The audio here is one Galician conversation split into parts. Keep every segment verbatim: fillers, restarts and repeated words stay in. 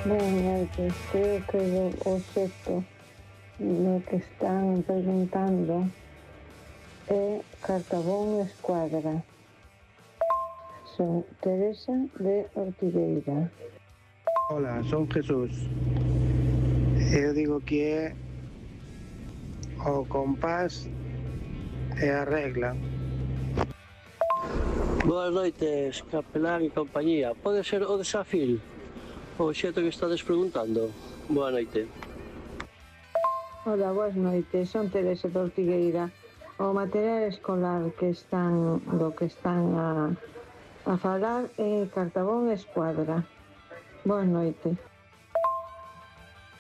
Boas noites. Creo que o obxecto do que están preguntando é Cartabón Escuadra. Son Teresa de Ortigueira. Hola, son Jesús. Eu digo que é o compás e a regla. Boas noites, capelán e compañía. Pode ser o desafío? O xeito que estades preguntando. Boa noite. Hola, boas noites. Son Teresa de Ortigueira. O material escolar que están do que están a, a falar é Cartabón Escuadra. Boa noite.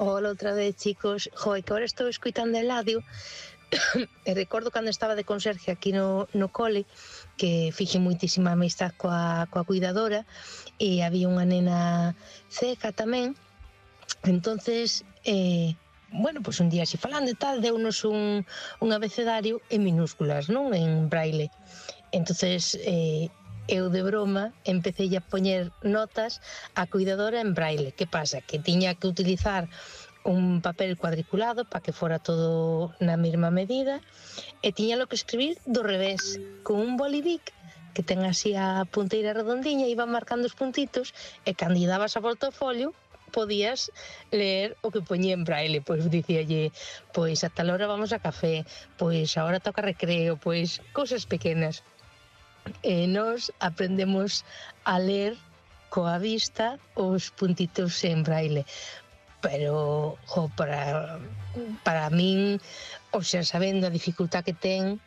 Hola outra vez, chicos. Joder, que ahora estou escoitando Eladio e recordo cando estaba de conserje aquí no, no cole que fixe moitísima amistad coa, coa cuidadora e había unha nena ceca tamén. Entonces, eh, bueno, pues un día así falando e tal, deunos un, un abecedario en minúsculas, non? En braille. Entonces, eh, eu de broma empecé a poñer notas á cuidadora en braille. Que pasa? Que tiña que utilizar un papel cuadriculado para que fora todo na mesma medida e tiña lo que escribir do revés, con un bolivic que ten así a punteira redondiña, iba marcando os puntitos e cando lle dabas a volta ao folio podías ler o que poñía en braille. Pois dicíalle, pois a tal hora vamos a café, pois agora toca recreo, pois cousas pequenas. E nós aprendemos a ler coa vista os puntitos en braille. Pero, jo, para, para min, o sea, sabendo a dificultad que ten,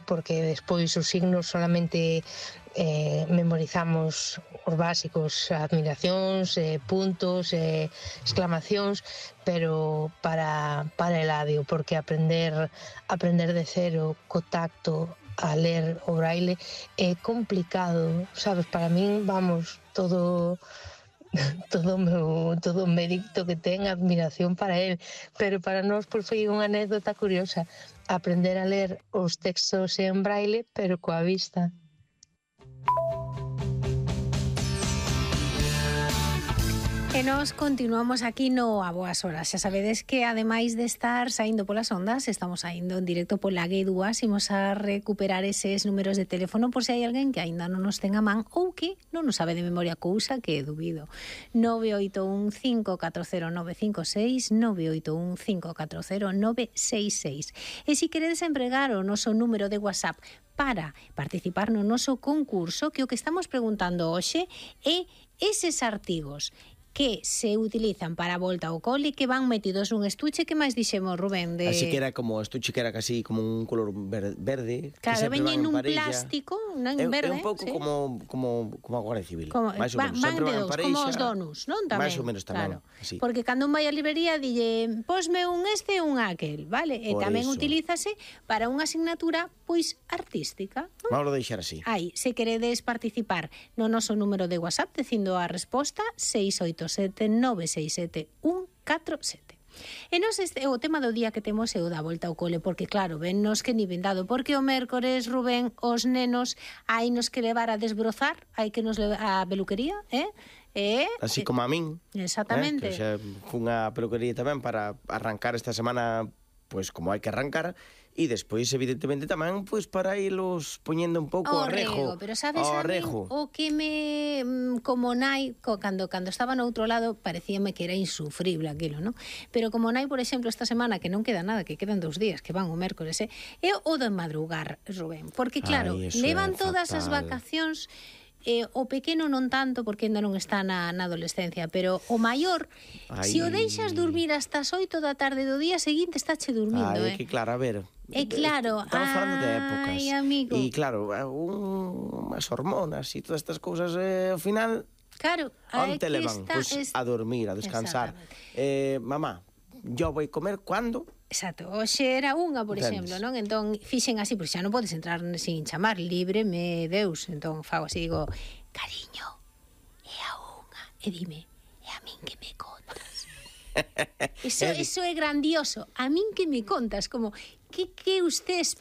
porque despois os signos solamente eh, memorizamos os básicos, admiracións, eh, puntos, eh, exclamacións, pero para, para Eladio, porque aprender, aprender de cero, co tacto, a ler o braille é complicado, sabes? Para min, vamos, todo todo o meu todo o mérito que ten, admiración para él, pero para nós pois foi unha anécdota curiosa aprender a ler os textos en braille pero coa vista. E nós continuamos aquí no A Boas Horas. Xa sabedes que, ademais de estar saindo polas ondas, estamos saindo en directo pola G dúas. Imos a recuperar eses números de teléfono por se hai alguén que aínda non nos ten a man ou que non nos sabe de memoria, cousa que dubido. nove oito un cinco catro cero nove cinco seis, nove oito un cinco catro cero nove seis seis. E se queredes empregar o noso número de WhatsApp para participar no noso concurso, que o que estamos preguntando hoxe é eses artigos que se utilizan para a volta ao cole, que van metidos un estuche, que máis dixemos, Rubén? De... Así que era como estuche que era casi como un color verde. Claro, veñen un plástico, non en verde. É un pouco sí. como, como, como a Guardia Civil. Como, máis ou van, menos. van Sempre de van dos, pareixa, como os donuts, non? Tamén. Máis ou menos tamén. Claro. Así. Porque cando un vai á librería, dille, posme un este e un aquel, vale? E Por tamén eso. utilízase para unha asignatura, pois, artística. Non? Vamos a deixar así. Aí, se queredes participar no noso número de WhatsApp, dicindo a resposta seis oito sete nove seis sete un catro sete. E nos este, o tema do día que temos é o da volta ao cole, porque claro, vennos que ni vendado, porque o mércores, Rubén, os nenos hai nos que levar a desbrozar, hai que nos levar a peluquería, eh? E, Así como a min. Exactamente. Eh, que xa fun a peluquería tamén para arrancar esta semana, pois como hai que arrancar, e despois evidentemente tamén pois para irlos poñendo un pouco o a rejo. rego, pero sabes ao a min, rejo. o que me mm, como nai, co, cando cando estaba no outro lado parecíame que era insufrible aquilo, ¿no? Pero como nai, por exemplo, esta semana que non queda nada, que quedan dous días, que van o mércores, eh, é o de madrugar, Rubén, porque claro, Ai, levan é todas as fatal. vacacións. Eh, o pequeno non tanto porque ainda non está na, na adolescencia, pero o maior, Ai. se o deixas dormir hasta as oito da tarde do día seguinte, estáche dormindo, Ai, eh? que claro, a ver. É claro, Estamos falando de épocas. ai, amigo. E claro, un, unhas hormonas e todas estas cousas, eh, ao final, Claro, onte que levan? está, Pois es... a dormir, a descansar. Eh, mamá, yo voy a comer cando? Exacto, hoxe era unha, por Entendes? exemplo, non? Entón, fixen así, porque xa non podes entrar sin chamar, libre me Deus. Entón, fago así, digo, cariño, é a unha. E dime, é a min que me contas. Eso, eso é grandioso. A min que me contas, como, que, que usted